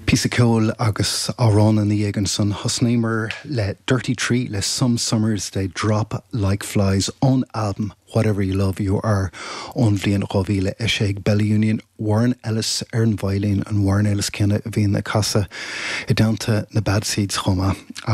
Píosa ceoil agus amhrán ina dhiaidh ansan. Thosnaíomar le Dirty Tree le Some Summers They Drop Like Flies ón albam Whatever You Love You Are ón bhliain 2006. Bella Union, Warren Ellis ar an veidhlín, an Warren Ellis céanna a bhíonn ag casadh i dteannta na Bad Seeds chomh maith.